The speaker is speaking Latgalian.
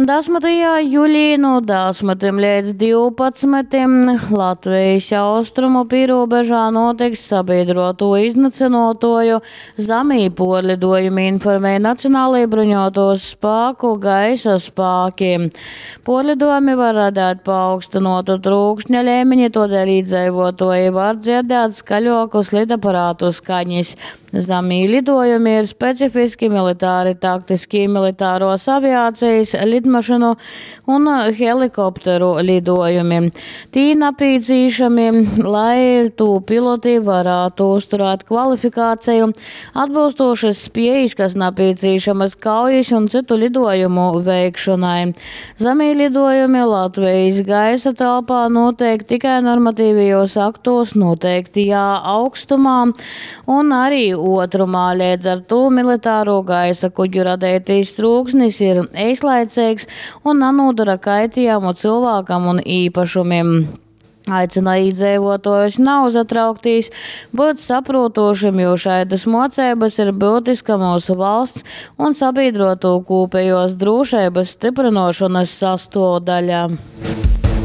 Dasmytajā julī nu dasmytim leidz divpadsmytim Latvejis austrumu pīrūbežā nūtiks sabīdruotū iznycynuotuoju zamī puorliduojumi, informej Nacionalī bruņuotūs spāku gaisa spāki. Puorliduojumi var radeit paaugstynuotu trūkšņa leimeni, tuodēļ īdzeivuotuoji var dzierdēt skaļuokus lidaparātu skaņis. Zamī lidojumi ir specifiski militāri taktiskī militaruos aviacejis, lidmašynu un helikopteru lidojumi. Tī napīcīšami, lai tū piloti varātu uzturēt kvalifikāceju, atbylstūšys spiejis, kas napīcīšamys kaujis un cytu lidojumu veikšonai. Zamī lidojumi Latvejis gaisa telpā nūteik tikai normatīvajūs aktūs nūteiktajā augstumā un arī uotrumā, leidz ar tū militāro gaisa kuģu radeitais trūksnis ir eislaiceigs un nanūdora kaitiejumu cilvēkam un īpašumim. Aicina īdzeivuotuojus nauzatrauktīs, byut saprūtūšim, jo šaidys muoceibys ir byutiska myusu valsts un sabīdruotū kūpejuos drūšeibys styprynuošonys sastuovdaļa.